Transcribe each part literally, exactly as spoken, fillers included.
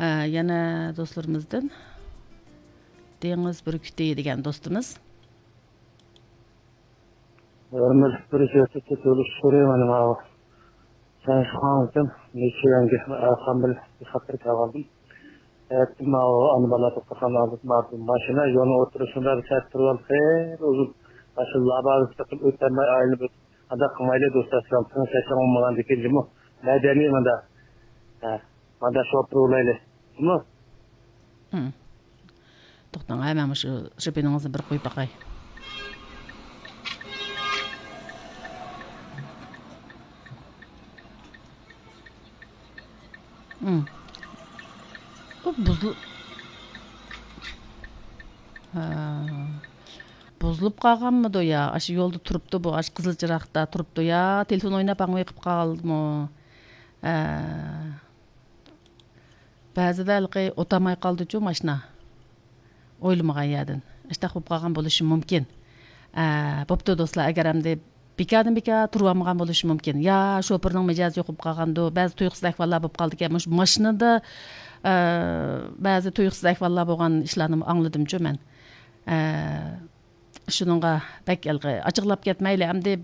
ئە، يەنە دوستلىرىمىزدىن دېڭىز بۈركۈتى دېگەن دوستىمىز. ھۆرمەتلىك بىر سۆزلۈك تۆلۈش سورۇيمەن ماۋۇ. سەن شۇڭاڭدىن نېچە يەڭگە ئەرقان بىلەن بىر خەتەر كەلگەندىم. ئەتە ماۋۇ ئانا بالا توختىغان ئالدىدا ماۋۇ ماشىنا يولنىڭ ئوتتۇرىسىدا بىر سەت تۇرۇۋالدى. خېلى ئۇزۇن. ماشىنا لابازا چىقىپ ئۆتەلمەي ئايلىنىپ ئۆتۈپ. ئانداق قىلمايلى دوستلار، سىلەر تىڭ سەسلەڭ بولمىغاندىكىن جۇمۇ. مەدەنىي مۇندا. ھە، مۇندا شوپۇر بولايلى. جۇمۇ. ھىم. توختاڭ، ھە، مەن مۇشۇ شوپىنىڭىزنى بىر قويۇپ باقاي. ھىم. بۇ بۇزۇل-، ھە. بۇزۇلۇپ قالغانمىدۇ يا؟ ئاشۇ يولدا تۇرۇپتۇ بۇ، ئاشۇ قىزىل چىراغدا تۇرۇپتۇ يا؟ تېلېفون ئويناپ ئاڭا قېلىپ قالدىمۇ؟ ھە. بەزىدە ھېلىقى ئولتۇرماي قالىدۇچۇ ماشىنا. ئويلىمىغان يەردىن. ئىشتاق بولۇپ قالغان بولۇشى مۇمكىن. ئە، بوپتۇ دوستلار، ئەگەر ئەمدى بىكاردىن بىكار تۇرۇۋالمىغان بولۇشى مۇمكىن. يا شوپۇرنىڭ مىجەزى يوق بولۇپ قالغاندۇ، بەزى تۇيۇقسىز ئەھۋاللار بولۇپ قالىدىكەن. مۇشۇ ماشىنىدا، ئە، بەزى تۇيۇقسىز ئەھۋاللار بولغان ئىشلارنى ئاڭلىدىمچۇ مەن. ئە، شۇنىڭغا بەك ھېلىقى ئاچچىقلاپ كەتمەيلى، ئەمدى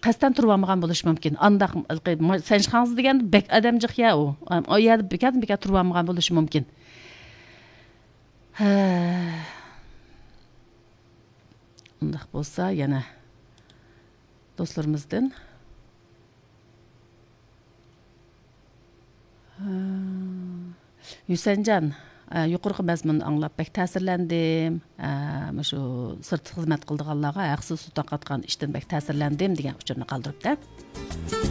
قەستەن تۇرۇۋالمىغان بولۇشى مۇمكىن. ئانداق ھېلىقى ما-، سەنشخاڭزى دېگەندە بەك ئادەمجىق يا ئۇ. ئا-، ئۇ يەردە بىكاردىن بىكار تۇرۇۋالمىغان بولۇشى مۇمكىن. ھە. ئۇنداق بولسا يەنە دوستلىرىمىزدىن. ھە. ھۈسەنجان، ئە، يۇقىرىقى مەزمۇننى ئاڭلاپ بەك تەسىرلەندىم. ئە، مۇشۇ سىرتتا خىزمەت قىلىدىغانلارغا ھەقسىز سۇ تارقاتقان ئىشتىن بەك تەسىرلەندىم دېگەن ئۇچۇرنى قالدۇرۇپتۇ.